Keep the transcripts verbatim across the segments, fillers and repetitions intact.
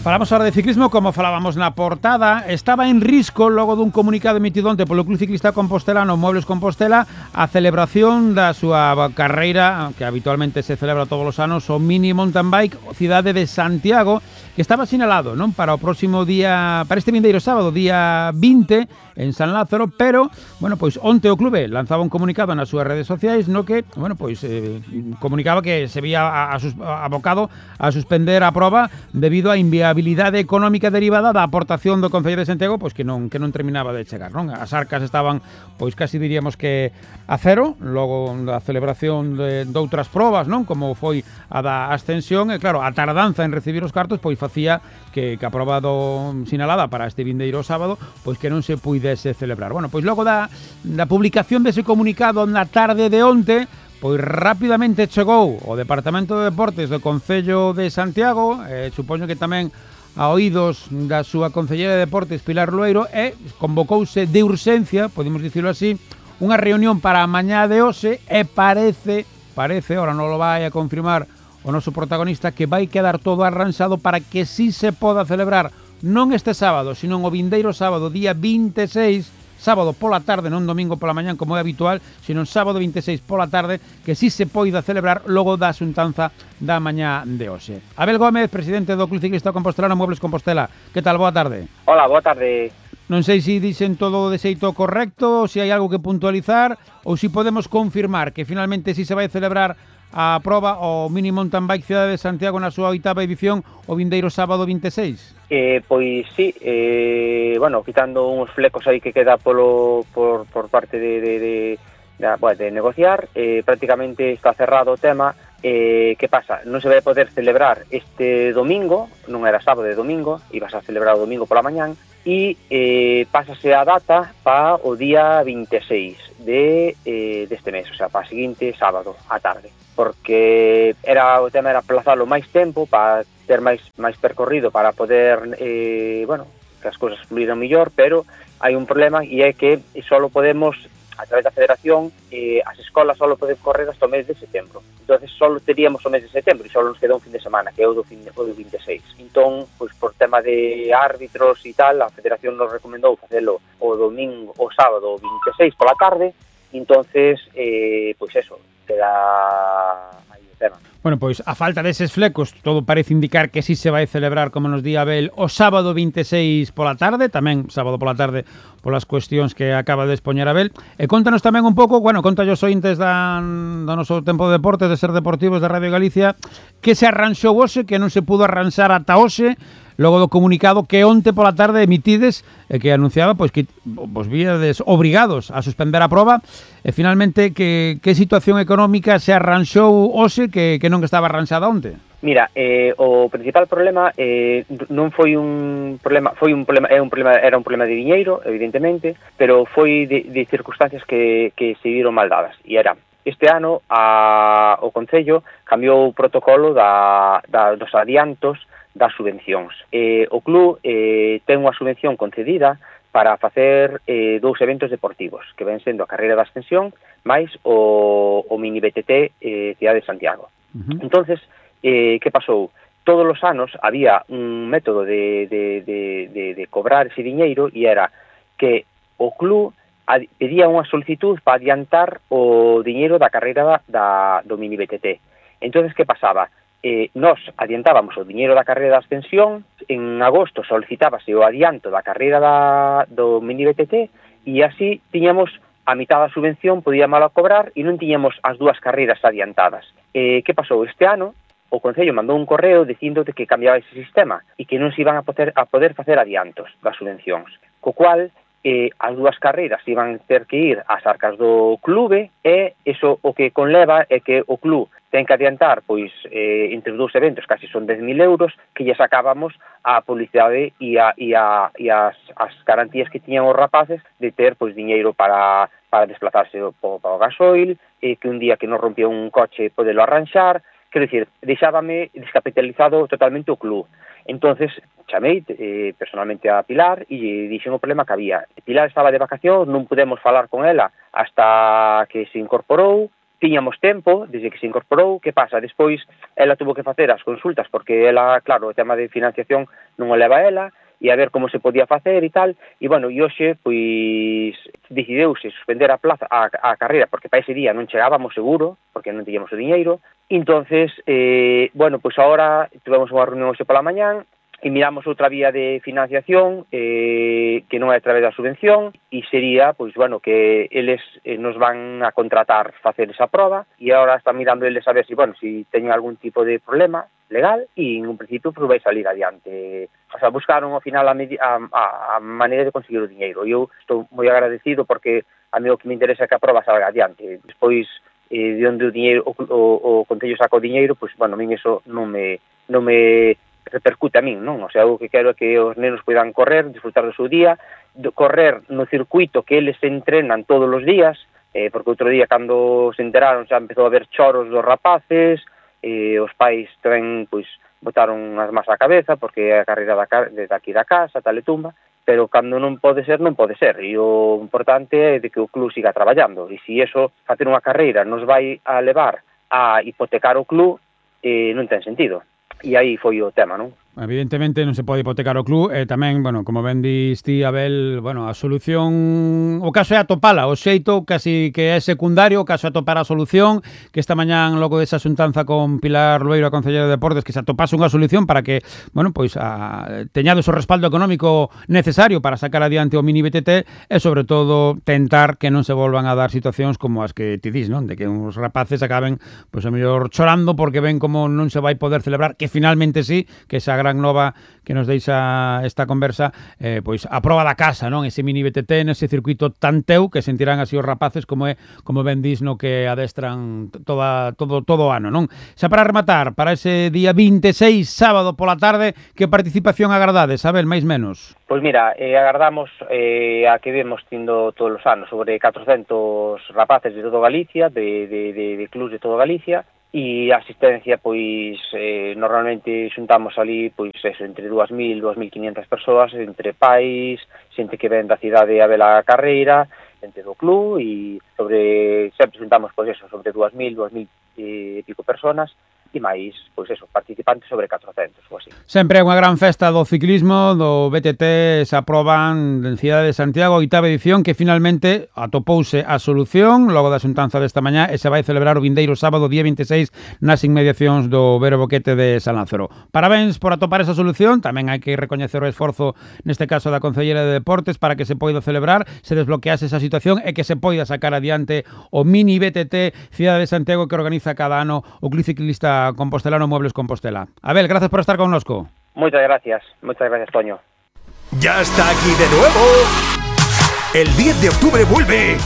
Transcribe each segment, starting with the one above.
Falamos ahora de ciclismo, como falábamos na portada. Estaba en risco, logo dun comunicado emitido onte polo Club Ciclista Compostelano Muebles Compostela, a celebración da súa carreira, que habitualmente se celebra todos os anos, o Mini Mountain Bike Cidade de Santiago, que estaba sinalado, non, para o próximo día, para este vindeiro sábado, día vinte, en San Lázaro, pero, bueno, pois onte o clube lanzaba un comunicado nas súas redes sociais no que, bueno, pois eh, comunicaba que se vía a, a sus, abocado a suspender a proba debido á inviabilidade económica derivada da aportación do Concello de Santiago, pois que non que non terminaba de chegar, non? As arcas estaban, pois casi diríamos que a cero, logo da celebración de, de outras probas, non? Como foi a da ascensión, e claro, a tardanza en recibir os cartos, pois facía que, que a proba do sinalada para este vindeiro sábado, pois que non se puidese celebrar. Bueno, pois logo da, da publicación dese comunicado na tarde de onte, pois rapidamente chegou o Departamento de Deportes do Concello de Santiago, eh, supoño que tamén a oídos da súa Concellera de Deportes, Pilar Lueiro, e convocouse de urxencia, podemos dicirlo así, unha reunión para a mañá de hoxe, e parece, parece, ahora non lo vai a confirmar o noso protagonista, que vai quedar todo arranxado para que si se poda celebrar non este sábado, sino o vindeiro sábado, día vinte e seis, sábado pola tarde, non domingo pola mañán como é habitual, sino sábado vinte e seis pola tarde, que si se poida celebrar logo da xuntanza da mañá de hoxe. Abel Gómez, presidente do Club Ciclista Compostelano Muebles Compostela. Que tal? Boa tarde. Hola, boa tarde. Non sei se dixen todo de xeito correcto, se hai algo que puntualizar, ou se podemos confirmar que finalmente si se vai celebrar a proba o Mini Mountain Bike Cidade de Santiago na súa oitava edición o vindeiro sábado vinte e seis. Eh, pois sí, eh, bueno, quitando uns flecos aí que queda polo por, por parte de, de, de, de, bueno, de negociar, eh, prácticamente está cerrado o tema. Eh, que pasa? Non se vai poder celebrar este domingo, non era sábado, de domingo, ibas a celebrar o domingo pola mañán, e eh, pásase a data para o día vinte e seis de, eh, deste mes, o sea, para o seguinte sábado, á tarde, porque era o tema era aplazalo máis tempo para ter máis máis percorrido para poder, eh, bueno, que as cousas fluíran mellor, pero hai un problema e é que só podemos, a través da Federación, eh, as escolas só poden correr hasta o mes de setembro. Entonces só teríamos o mes de setembro e só nos queda un fin de semana, que é o do, fin de, o do vinte e seis. Entón, pois por tema de árbitros e tal, a Federación nos recomendou facelo o domingo, o sábado, o vinte e seis pola tarde. Entonces, eh, pois eso, queda aí o tema. Bueno, pois a falta deses flecos, todo parece indicar que si se vai celebrar, como nos di Abel, o sábado vinte e seis pola tarde, tamén sábado pola tarde polas cuestións que acaba de expoñer Abel. E contanos tamén un pouco, bueno, conta os ointes da, do noso tempo de deporte, de Ser Deportivos de Radio Galicia, que se arranxou hoxe, que non se pudo arranxar ata hoxe, logo do comunicado que onte pola tarde emitides e que anunciaba pois que vos víades obrigados a suspender a proba e finalmente que, que situación económica se arranxou hoxe que, que non estaba arranxada onte? Mira, eh, o principal problema eh, non foi un problema, foi un problema, é un problema, era un problema de diñeiro, evidentemente, pero foi de, de circunstancias que, que se viron mal dadas, e era este ano a, o Concello cambiou o protocolo da, da, dos adiantos das subvencións. Eh, o club eh, ten unha subvención concedida para facer eh, dous eventos deportivos, que ven sendo a carreira da ascensión máis o, o mini B T T eh, Cidade de Santiago. Uh-huh. Entonces, eh, que pasou? Todos os anos había un método de, de, de, de, de cobrar ese diñeiro e era que o club pedía unha solicitud para adiantar o diñeiro da carreira da, do mini B T T. Entonces, que pasaba? Eh, nos adiantábamos o diñeiro da carreira da ascensión, en agosto solicitábase o adianto da carreira da, do mini B T T e así tiñamos a mitad da subvención, podíamos a cobrar e non tiñamos as dúas carreiras adiantadas. Eh, que pasou? Este ano o Concello mandou un correo dicindo que cambiaba ese sistema e que non se iban a poder, a poder facer adiantos das subvencións, co cual eh, as dúas carreiras iban ter que ir ás arcas do clube e iso o que conleva é que o club ten que adiantar, pois, eh, entre os dous eventos, casi son dez mil euros, que lle sacábamos a publicidade e, a, e, a, e as, as garantías que tiñan os rapaces de ter, pois, diñeiro para, para desplazarse para o gasoil, eh, que un día que nos rompía un coche podelo arranxar, quero dicir, deixábame descapitalizado totalmente o club. Entonces chamei eh, personalmente a Pilar e dixen o problema que había. Pilar estaba de vacacións, non pudemos falar con ela hasta que se incorporou, tiñamos tempo desde que se incorporou. Que pasa? Despois ela tuvo que facer as consultas porque ela, claro, o tema de financiación non o leva ela, e a ver como se podía facer e tal, e bueno, e hoxe, pois, decidiuse suspender a plaza, a, a carreira, porque para ese día non chegábamos seguro, porque non tiñamos o diñeiro. Entonces, eh, bueno, pois agora tivemos unha reunión hoxe pola mañán, e miramos outra vía de financiación eh, que non é a través da subvención, e sería, pois, bueno, que eles eh, nos van a contratar facer esa proba, e agora están mirando eles a ver si, bueno, si teñen algún tipo de problema legal, e en un principio pues, vai salir adiante. O sea, buscaron ao final a, a, a maneira de conseguir o diñeiro. Eu estou moi agradecido porque a mí o que me interesa é que a proba salga adiante. Despois, eh, de onde o diñeiro, o, o, o Concello saca o diñeiro, pois, bueno, a min eso non me, non me repercute a min, non? O sea, o que quero é que os nenos poidan correr, disfrutar do seu día, de correr no circuito que eles entrenan todos os días, eh, porque outro día, cando se enteraron, xa empezou a haber choros dos rapaces, eh, os pais tamén, pois, botaron as más á cabeza, porque é a carreira da, desde aquí da casa, tal e tumba, pero cando non pode ser, non pode ser, e o importante é de que o club siga traballando, e se iso, facer unha carreira, nos vai a levar a hipotecar o club, eh, non ten sentido. E aí foi o tema, non? Evidentemente non se pode hipotecar o club e tamén, bueno, como ben dis ti, Abel, bueno, a solución, o caso é atopala, o xeito casi que é secundario, o caso é atopar a solución, que esta mañán logo desa xuntanza con Pilar Loeiro, a Concelleira de Deportes, que se atopase unha solución para que, bueno, pois a, teñades o respaldo económico necesario para sacar adiante o mini B T T e sobre todo tentar que non se volvan a dar situacións como as que ti dis, non? De que uns rapaces acaben, pois a mellor chorando porque ven como non se vai poder celebrar, que finalmente sí, que esa gran nova que nos deixa esta conversa, eh, pois a proba da casa, non? Ese mini B T T nese circuito tan teu que sentirán así os rapaces como é, como ben dis, no que adestran toda, todo, todo o ano, non? Xa para rematar, para ese día vinte e seis, sábado pola tarde, que participación agardades, Abel, máis menos? Pois mira, eh, agardamos eh, a que vemos tindo todos os anos sobre catrocentos rapaces de todo Galicia, de, de, de, de clubs de todo Galicia, e a asistencia, pois, eh, normalmente xuntamos ali, pois, eso, entre dúas mil, dúas mil quinientas persoas, entre pais, xente que ven da cidade a ver a carreira, xente do club, e sobre, sempre xuntamos, pois, eso, sobre dúas mil, dúas mil e pico personas, e máis, pois eso, participantes sobre catrocentos, ou así. Sempre é unha gran festa do ciclismo, do B T T, se aproban en Cidade de Santiago, oitava edición, que finalmente atopouse a solución logo da xuntanza desta mañá e se vai celebrar o vindeiro sábado, día vinte e seis, nas inmediacións do Vero Boquete de San Lázaro. Parabéns por atopar esa solución, tamén hai que recoñecer o esforzo, neste caso da Concelleira de Deportes, para que se poida celebrar, se desbloquease esa situación e que se poida sacar adiante o mini B T T Cidade de Santiago que organiza cada ano o Club Ciclista Compostelano Muebles Compostela. Abel, gracias por estar con nosco. Muchas gracias, muchas gracias, Toño. Ya está aquí de nuevo. El diez de octubre vuelve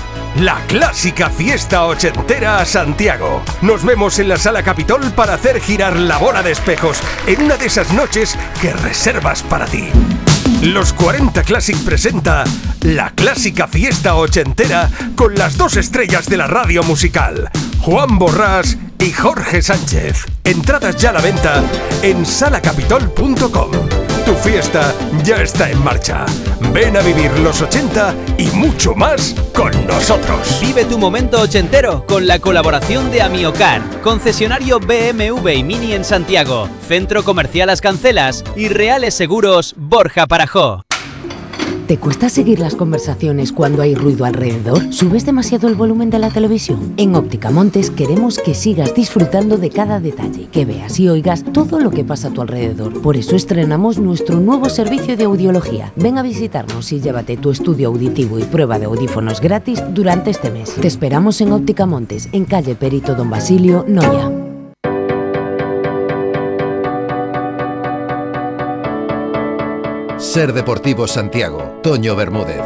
la clásica fiesta ochentera a Santiago. Nos vemos en la Sala Capitol para hacer girar la bola de espejos en una de esas noches que reservas para ti. Los cuarenta Classic presenta la clásica fiesta ochentera con las dos estrellas de la radio musical, Juan Borrás y Jorge Sánchez. Entradas ya a la venta en sala capitol punto com. Tu fiesta ya está en marcha. Ven a vivir los ochenta y mucho más con nosotros. Vive tu momento ochentero con la colaboración de Amiocar, concesionario B M W y Mini en Santiago, Centro Comercial Las Cancelas y Reales Seguros Borja Parajó. ¿Te cuesta seguir las conversaciones cuando hay ruido alrededor? ¿Subes demasiado el volumen de la televisión? En Óptica Montes queremos que sigas disfrutando de cada detalle, que veas y oigas todo lo que pasa a tu alrededor. Por eso estrenamos nuestro nuevo servicio de audiología. Ven a visitarnos y llévate tu estudio auditivo y prueba de audífonos gratis durante este mes. Te esperamos en Óptica Montes, en calle Perito Don Basilio, Noia. Ser Deportivo Santiago, Toño Bermúdez.